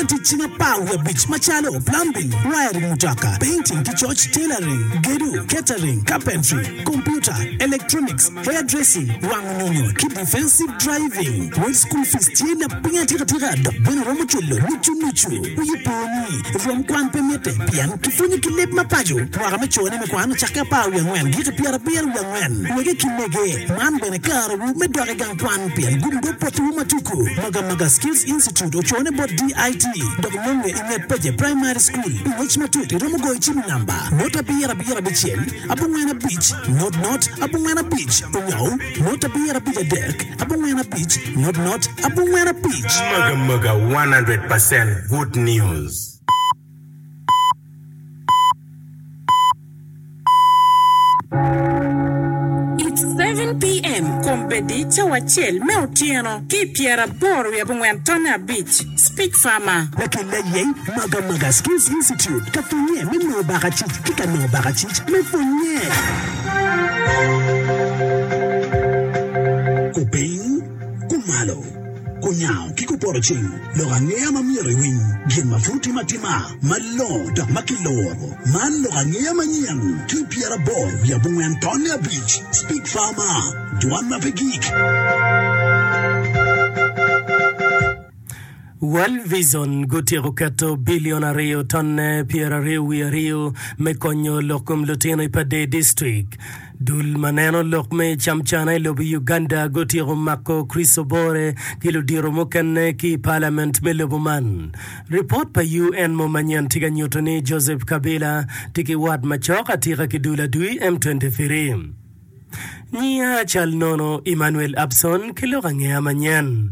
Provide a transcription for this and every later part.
Pwonyo tic cing 15 macalo, plumbing, wiring mutoka, painting ki coc, tailoring, gedo, catering, carpentry, computer, electronics, hairdressing, wango nyonyo, ki defensive driving. Wel school fees tye lapiny atika tika dok bene romo culo nucu nucu. Wiyi po ni, rwom kwan pe mitte pien kipwonyo ki leb ma paco. Mwaka me cone me kwan ocakke 14 giki 74. Wege ki mege, man bene karewu me dok i gang kwan pien gum dog potiwu ma tuku. Magamaga Skills Institute ocone bot DIT dok nonge i nget Peje Primary School. Pi ngec matut iromo goyo cim i namba, 0 7 6 4 5 0 0 4 5 onyo 0 7 5 3 4 5 0 0 4 5. Magamaga 100% good news. It's 7 PM, Kombeddi cawa acel me otyeno ki i pyeraboro wiye abongwen tonne abic, Speech Farmer. Lakelle aye Magamaga Skills Institute ka pwonye me nongo bakacic ki ka nongo bakacic me pwonye. Kupiny, kumalo, kunyango ki kupoto cing, lok angeya ma myero iwiny, gin ma pud timo atima, malongo dok ma kiluro. Man lok angeya manyen ki 84 tonne abic, Speak Farmer, dwan ma pe gik. World Vision gutyeko keto bilion aryo tonne pyeraryo wiye aryo me konyo lok kom lutino i Pader District. Dul ma neno lok me camcana i lobo Uganda gutyeko mako Chris Obore ki ludito mukene ki i palament me lobo man. Ripot pa UN mo manyen tye ka nyuto ni Joseph Kabila tye ki wat macok atika ki dul adui M23. Nyiya cal nono Emmanuel Abson ki lok angeya manyen.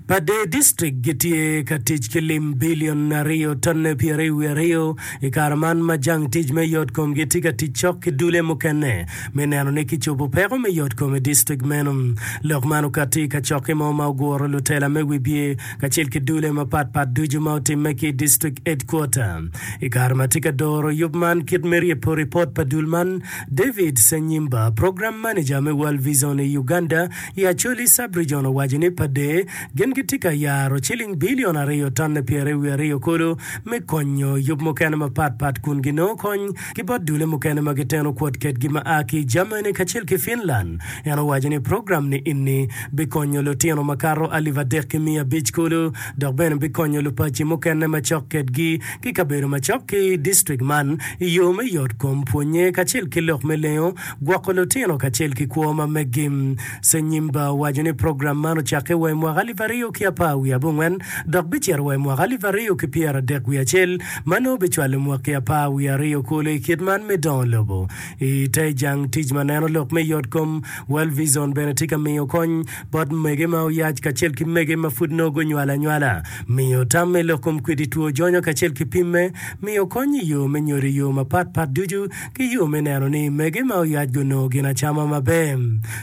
Pader District gitye ka tic ki lim bilion aryo tonne 22 i kare man ma jang tic me yot komgi tye ka tic cok ki dule mukene me neno ni kicobo peko me yot kom i district meno. Lok man okatti i kacokke mo ma oguro lutela me wibye kacel ki dule mapat pat ducu ma otimme ki i district headquarter. I kare ma tye ka doro yub man kit me ryebo ripot pa dul man, David Senyimba, Program Manager me World Vision i Uganda, I Acholi Sub-Region owaco ni Pader gin gitye ka yaro ciling bilion aryo tonne 22 kulu me konyo yub mukene mapat pat kun ginongo kony ki bot dule mukene ma giteno kwot kedgi ma a ki i Germany kacel ki Finland. En owaco ni program ni inni bikonyo lutino makato alip 3,500 kulu dok bene bikonyo lupaci mukene macok kedgi ki kabedo macok ki distrik man i yo me yot kom, pwonye kacel ki lok me lengo Gwoko lutino kacel ki kwo ma meggi. Senyimba owaco ni program man ocakke wa i mwaka alip aryo ki apar wiye abongwen dok bicito wa i mwaka alip aryo ki pyeradek wiye acel ma nongo bicwalo mwaki apar wiye aryo kulu i kit man me dongo lobo. I te jang tic ma neno lok me yot kom, World Vision bene tye ka miyo kony bot mege ma oyac kacel ki mege ma pud nongo gunywalo anywala, miyo tam me lok kom kwidi two jonyo kacel ki pimme, miyo kony i yo me nyodo i yo mapat pat ducu ki yo me neno ni mege ma oyac gunongo ginacama maber.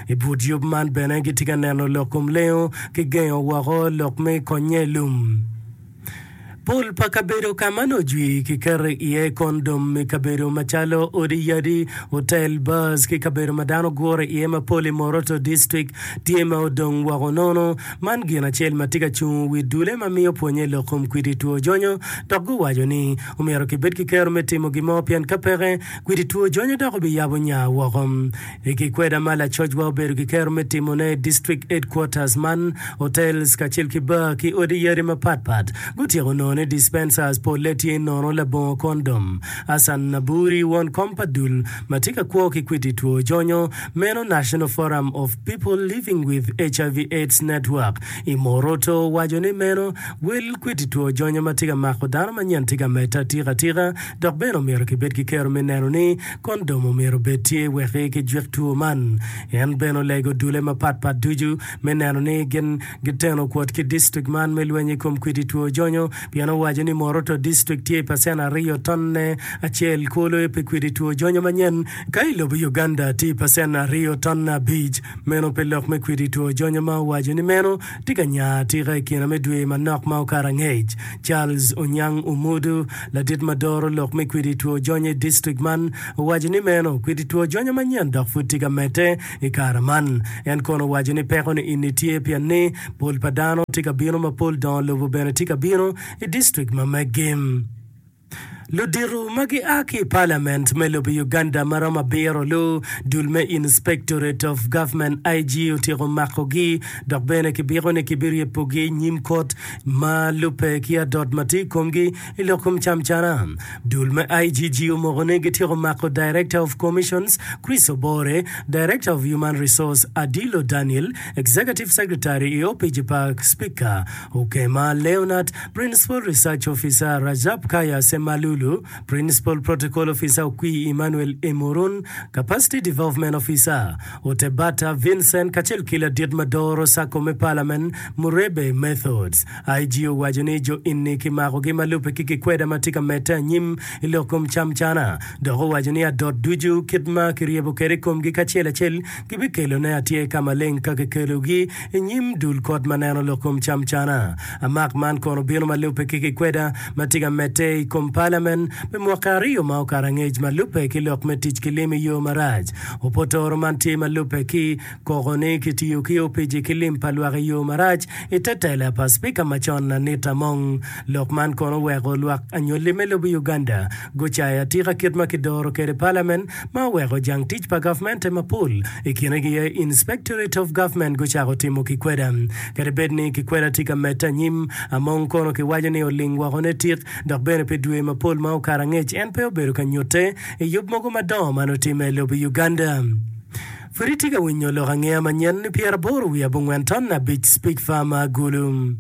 I but yub man bene gitye ka neno lok kom lengo ki gengo woko lok me konye lum. Pol pa kabedo ka ma nongo jwi kiketo iye kondom i kabedo macalo odi yadi, otel, bars ki kabedo ma dano gure iye mapol i Moroto District tye ma odong woko nono. Man gin acel ma tye ka cungo wi dule ma miyo pwonye i lok kom kwidi two jonyo dok guwaco ni Omyero kibed ki kero me timo gin mo pien ka peke, kwidi two jonyo dok obiyabo nya woko. I kikweda ma lacocwa obedo ki kero me timone i District Headquarters man, hotels kacel ki bar ki odi yadi mapat pat gutyeko nongo ni dispensers polle tye nono labongo kondom. Hassan Naburi, won kom pa dul ma tye ka kwo ki kwidi two jonyo meno National Forum of People Living with HIV AIDS Network i Moroto owaco ni meno Wel kwiti two jonyo ma tye ka mako dano manyen tye ka medde atika atika, dok bene omyero kibed ki kero me neno ni kondom omyero obed tye wek kijwik two man. En bene olego dule mapat pat ducu me neno ni gin giteno kwot ki distrik man me lweny i kom kwiti two jonyo pien. pien owaco ni Moroto District tye i pacen aryo tonne acel kulu pi kwidi two jonyo manyen ka i lobo Uganda tye i pacen aryo tonne abic. Meno pe lok me kwidi two jonyo ma owaco ni meno tye ka nya atika i kine me dwe manok ma okato angec. Charles Onyang Omudu, ladit ma doro lok me kwidi two jonyo i distrik man, owaco ni meno kwidi two jonyo manyen dok pud tye ka medde i kare man. En kono owaco ni peko ni ini tye pien ni pol pa dano tye ka bino mapol dongo lobo bene tye ka bino i distrik ma meggi. Ludito ma gia ki i Parliament me lobo Uganda ma romo abiro lu dul me Inspectorate of Government, IG, otyeko makogi dok bene kibiko ni kibiryepogi i nyim kot ma lubbe ki adot ma tye i komgi i lok kom camcana. Dul me IGG omoko ni gityeko mako Director of Commissions Chris Obore, Director of Human Resource Adilo Daniel, Executive Secretary i opic pa Spika Okema Leonard, Principal Research Officer Rajab Kaya Semalulu, Principal Protocol Officer Okwi Emmanuel Emurun, Capacity Development Officer Otebata Vincent kacel ki ladit ma doro Sacco me Parliament Murebe Methods. IG owaco ni jo eni kimakogi ma lubbe ki kikweda ma tye ka medde anyim i lok kom camcana dok owaco ni adot ducu kit ma kiryebo kwede i komgi kacel acel gibikelone atyer ka maleng ka kikelogi i nyim dul kot ma neno lok kom camcana. Amak man kono obino ma lubbe ki kikweda ma tye ka medde i kom palamen pi mwaki aryo ma okato angec ma lubbe ki lok me tic ki lim i yo marac. Opotoro man tye ma lubbe ki koko ni kitiyo ki opici ki lim pa lwak i yo marac i te tela pa Spika macon Anita Among. Lok man kono oweko lwak anywali me lobo Uganda gucayo atika kit ma kidoro kwede palamen ma oweko jang tic pa gavmente mapol, i kine gi aye Inspectorate of Government gucako timo kikweda. Kadi bed ni kikweda tye ka medde anyim, Among kono kiwaco ni oling woko ne tik dok bene pi dwe mapol ma okato angec en pe obedo ka nyutte i yub mogo madongo ma nongo timme i lobo Uganda. Pud itye ka winyo lok angeya manyen ni pyeraboro wiye abongwen ton abic Speak Farmer Gulu.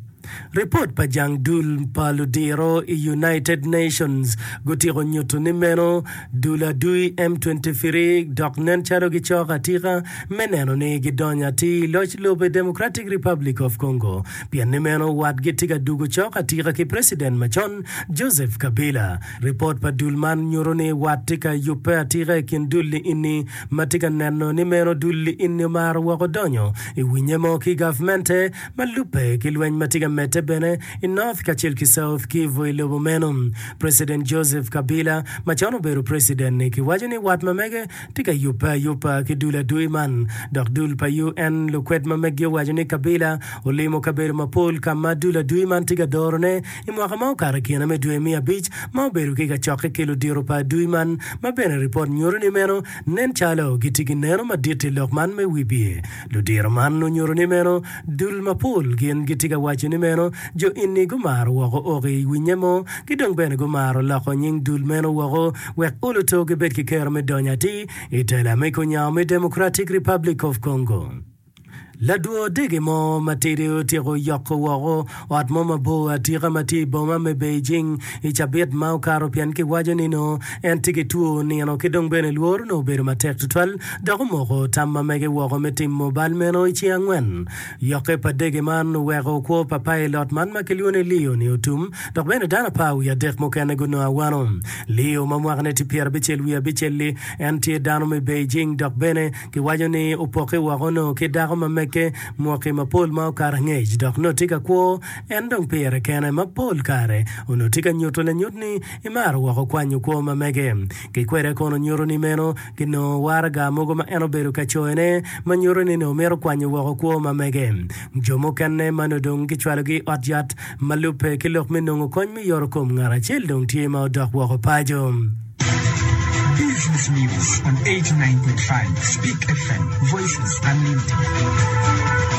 Ripot pa jang dul pa ludiro i United Nations gutyeko nyuto ni meno dul adui M23 dok nen calo gicok atika me neno ni gidonyo atir i loc lobo i Democratic Republic of Congo pien ni meno watgi tye ka dugo cok atika ki President macon Joseph Kabila. Ripot pa dul man nyuto ni wat tye ka yubbe atika i kin dul-li ini ma tye ka neno ni meno dul-li ini omaro woko donyo i winye mo ki gavmente ma lubbe ki lweny ma tye ka medde bene i North kacel ki South Kivu i lobo meno. President Joseph Kabila macon obedo president-ni kiwaco ni wat ma mege tye ka yubbe ayuba ki dul adui man dok dul pa UN lukwed ma meggi owaco ni Kabila olimo kabedo mapol ka ma dul adui man tye ka dorone i mwaka ma okato i kine me dwe me abic ma obedo ki kacokke ki ludito pa adui man ma bene ripot nyuto ni meno nen calo gitye ki neno madit i lok man me wibye. Ludiro man onyuto ni meno dul mapol gin gitye ka waco ni meno jo eni gumaro woko ok i winye mo ki dong bene gumaro loko nying dul meno woko wek oluto gibed ki kero me donyo atir i tela me kunyango me Democratic Republic of Congo. Ladwo dege mo matidi otyeko yoko woko ot mo mabor atika ma tye i boma me Beijing i cabit ma okato pien kiwaco ni nongo en tye ki two nino ki dong bene lworo nongo obedo matek tutwal dok omoko tam ma mege woko me timo bal meno i ceng angwen. Yokke pa dege man oweko kwo pa pailot man ma kilwongo ni Leo ni otum dok bene dano apar wiye adek mukene gunongo awano. Leo ma mwakane tye pyerabicel wiye abicel-li en tye dano me Beijing dok bene Kiwaco ni opokke woko onongo ki dako ma mege mwaki mapol ma okato angec dok nongo tye ka kwo en dong pire kene ma pol kare onongo tye ka nyuto lanyut ni emaro woko kwanyo kwo ma mege. Ki kwede kono nyuto ni meno kinongo waraga mogo ma en obedo ka coyone ma nyuto ni nongo mito kwanyo woko kwo ma mege. Jo mukene ma nongo dong kicwalogi i ot yat ma lubbe ki lok me nongo kony me yotokom ngat acel dong tye ma odok woko paco. Business News on 89.5 Speak FM, Voices Unlimited.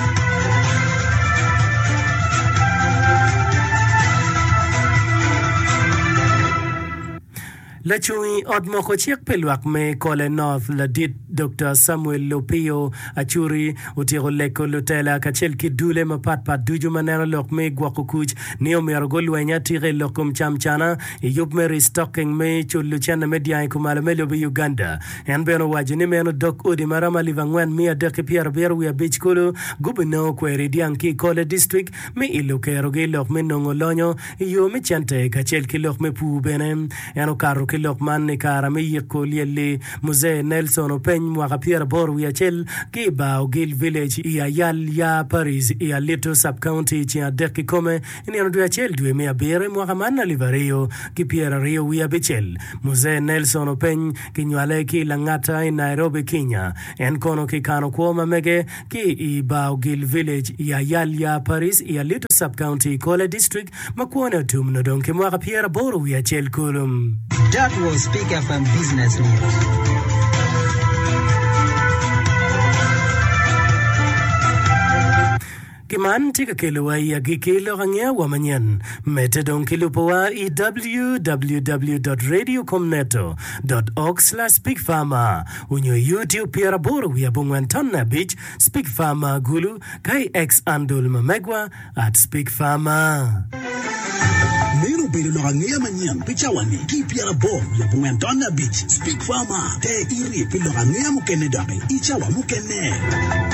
Lacung i ot moko cik pi lwak me Kole North ladit Dokta Samuel Lopio Achuri otyeko leko lutela kacel ki dule mapat pat ducu ma neno lok me gwoko kuc ni omyero gulweny atika i lok kom camcana i yub me restocking me culo cente me dyang i kumalo me lobo Uganda. En bene owaco ni meno dog odi ma romo alip angwen miya adek ki pyerabiro wiye abic kulu gubinongo kweri dyang ki i Kole District me ilo kerogi i lok me nongo lonyo i yo me cente kacel ki lok me pur bene. En okato ki lok man i kare me yiko lyelli Muzee Nelson Openy mwaka pyeraboro wiye acel ki i bar Ogil Village i Ayal Ya Parish i Alito Sub-County ceng adek kikome i nino dwe acel dwe me abiro i mwaka man alip aryo ki pyeraryo wiye abicel. Muzee Nelson Openy kinywale ki i Langata i Nairobi, Kenya. En kono kikano kwo ma mege ki i bar Ogil Village i Ayal Ya Parish i Alito Sub-County i Kole District ma kwone otum nongo dong ki mwaka pyeraboro wiye acel kulu. That was Peak FM Business News. Ki man tye ka kelowa i agikki lok angeya wa manyen. Medde dong ki lubowa i www dot radiocomneto dot org slash speakfarmer onyo i YouTube pyeraboro wiye abongwen tonne abic Speak Farmer Gulu ka i X-andle ma megwa at Speak Farmer. Meno obedo lok angeya manyen pi cawa-ni ki i pyeraboro wiye abongwen tonne abic. Speak Farmer, Ter iti pi lok angeya mukene doki i cawa mukene.